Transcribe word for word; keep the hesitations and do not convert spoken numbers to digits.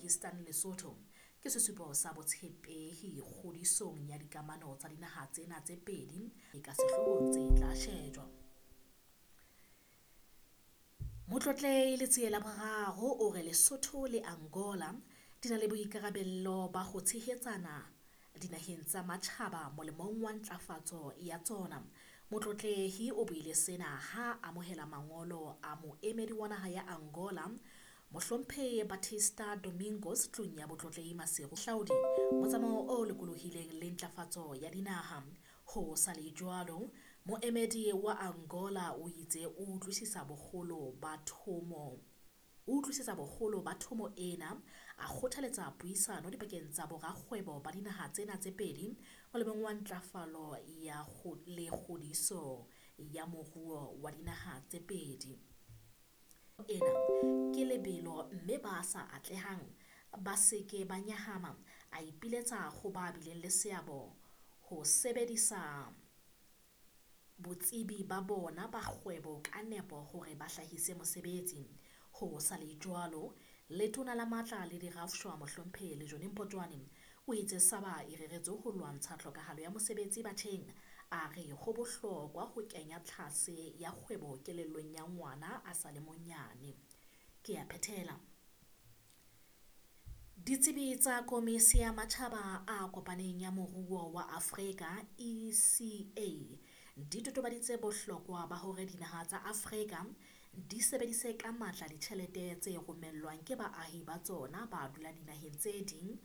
Eastern Lesotho ke sesupo sa botshepehi kgodisong ya dikamano tsa dinaha tsena tse pedi e ka sehloohong tse tla shejwa. Motlotlehi Letsie la Boraro o re Lesotho le Angola di na le boikarabello ba ho tshehetsana dinaheng tsa matjhaba molemong wa ntlafatso ya tsona. Motlotlehi o buile sena ha a amohela mangolo a moemedi wa naha ya Angola, Mohlomphehi Baptista Domingos tlung ya Botlotlehi Maseru hlaodi, motsamao o lokolohileng le ntlafatso ya dinaha. Ho sa le jwalo, moemedi wa Angola o itse o utlwisisa boholo ba thomo o utlwisisa boholo ba thomo ena, a kgothaletsa puisano dipakeng tsa borakgwebo ba dinaha tsena tse pedi molemong wa ntlafalo ya le kgodiso ya moruo wa dinaha tse pedi. Ena ke lebelo mme ba sa atlehang ba se ke ba nyahama, a ipiletsa ho ba bileng le seabo ho sebedisa botsebi ba bona ba kgwebo ka nepo hore ba hlahise mesebetsi. Ho sa le jwalo, Letona la Matla le Dirafshwa Mohlomphehi Lejone Mpotjoane o itse SABA e reretswe ho lwantsha tlhokahalo ya mesebetsi batjheng. A re ho bohlokwa ho kenya tlhase ya kgwebo kelellong ya ngwana a sa le monyane. Ke a phethela. Ditsebi tsa Komisi ya Matjhaba a Kopaneng ya Moruo wa Afrika, E C A, di totobaditse bohlokwa ba hore dinaha tsa Afrika di sebedise ka matla ditjhelete tse romellwang ke baahi ba tsona ba dulang dinaheng tse ding